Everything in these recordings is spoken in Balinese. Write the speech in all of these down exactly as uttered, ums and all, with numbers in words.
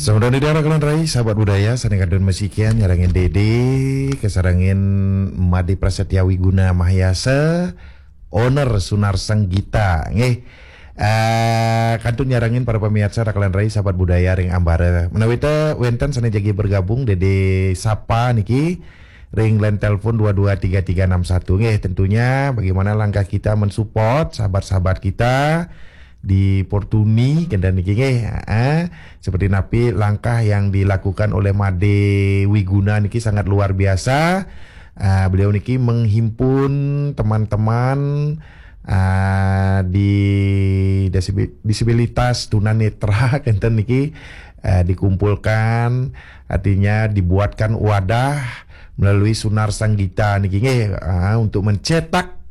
Sampurasun titiang rakan rai, sahabat budaya, sané kantun masikian nyarengin Dédé, kasarengin Madé Prasetya Wiguna Mahayasa, owner Sunar Sanggita. Nggih. Eh, kantun nyarengin para pamiarsa rakan rai, sahabat budaya ring ambara. Menawi té wénten sané jagi bergabung, Dédé sapa niki ring line telepon dua dua tiga tiga enam satu. Nggih, tentunya bagaimana langkah kita mensupport sahabat-sahabat kita di Portuni, kénten niki nggih. Heeh. Seperti napi langkah yang dilakukan oleh Madé Wiguna niki sangat luar biasa. Ah, beliau niki menghimpun teman-teman, ah, di disibi-, disabilitas tunanetra, kénten niki, eh, dikumpulkan, artinya dibuatkan wadah melalui Sunar Sanggita niki nggih, ah, untuk mencetak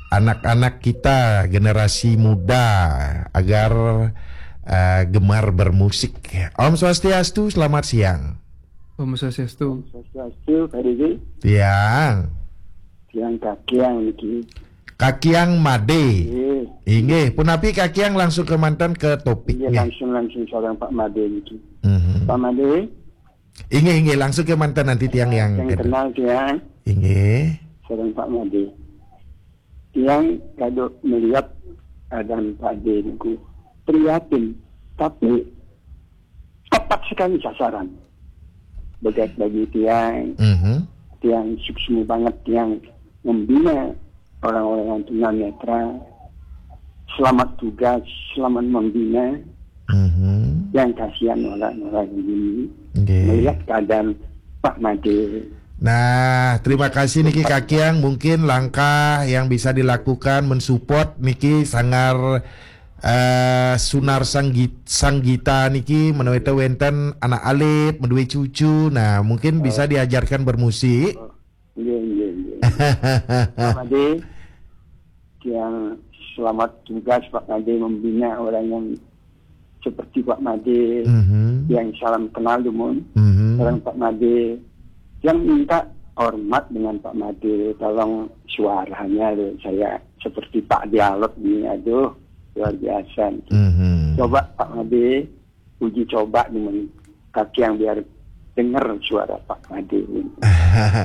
anak-anak kita, generasi muda, agar, eh, gemar bermusik. Om Swastiastu, selamat siang. Om Swastiastu. Swastiastu, Pak Didi. Tiang. Tiang Kakiang niki. Kakiang Madé. Nggih. Inggih, punapi Kakiang langsung kémanten ke topik. Inggih, nggih. Langsung, langsung sareng Pak Madé niki. Mhm. Pak Madé. Inggih, inggih, langsung kémanten nanti tiang yang yang kenal tiang. Inggih. Sareng Pak Madé. Tiang kado melihat keadaan Pak Madé niku prihatin, tapi tepat sekali sasaran. Begat bagi tiang, Mhm. tiang suksma banget tiang membina orang-orang yang tunanetra. Selamat tugas, selamat membina. Mhm. Yang kasihan orang-orang ini Nggih. Melihat keadaan Pak Madé. Nah, terima kasih niki Kakiang. Mungkin langkah yang bisa dilakukan mensupport niki sanggar, eh, Sunar Sanggi-, Sanggita niki, menawi té wénten anak alit, menawi cucu. Nah, mungkin bisa diajarkan bermusik. Nggih, nggih, nggih. Pak Madé, yang selamat tugas Pak Madé membina orang yang seperti Pak Madé, Mhm. yang salam kenal dumun. Mhm. Orang Pak Madé yang minta hormat dengan Pak Madé, tolong suaranya loh, saya seperti Pak Dialog ini, aduh, luar biasa. Mhm. Coba Pak Madé, uji coba dumun Kakiang biar denger suara Pak Madé.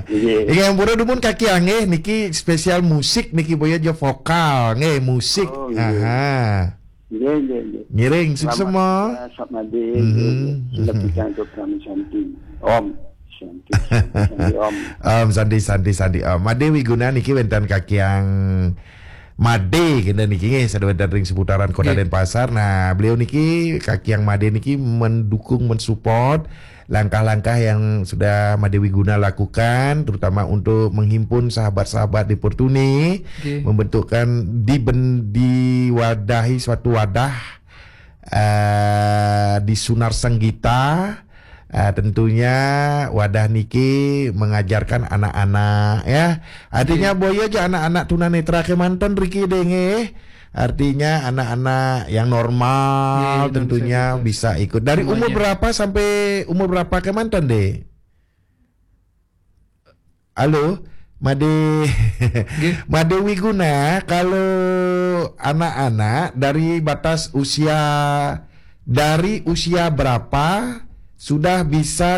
Iya. Inggih, ampura dumun Kakiang nggih, niki spesial musik niki, boya ja vokal nggih, musik. Oh, iya. Aha. Nggih, nggih, nggih. Ngiring, selamat suksma. Selamat Madé. Mhm. Nggih, nggih. Lebih cantik Om Santi. Om Santi, Santi, Santi, Om. Om Santi, Santi, Santi, Om. Madé Wiguna niki wénten Kakiang Madé, kénten niki nggih, sané wénten ring seputaran Kota Nggih. Denpasar. Nah, beliau niki, Kakiang Madé niki mendukung, mensupport langkah-langkah yang sudah Madé Wiguna lakukan, terutama untuk menghimpun sahabat-sahabat di Portuni, Nggih. Membentukkan di ben-, diwadahi suatu wadah, eh, di Sunar Senggita. Eh, tentunya wadah niki mengajarkan anak-anak, ya. Artinya, Nggih. Boya ja anak-anak tunanetra kémanten riki deh, nggih. Artinya anak-anak yang normal Nggih, tentunya bisa ikut. Bisa ikut. Dari umur semuanya. Berapa sampai umur berapa kémanten deh? Halo, Madé. Nggih. Madé Wiguna, kalau anak-anak dari batas usia, dari usia berapa sudah bisa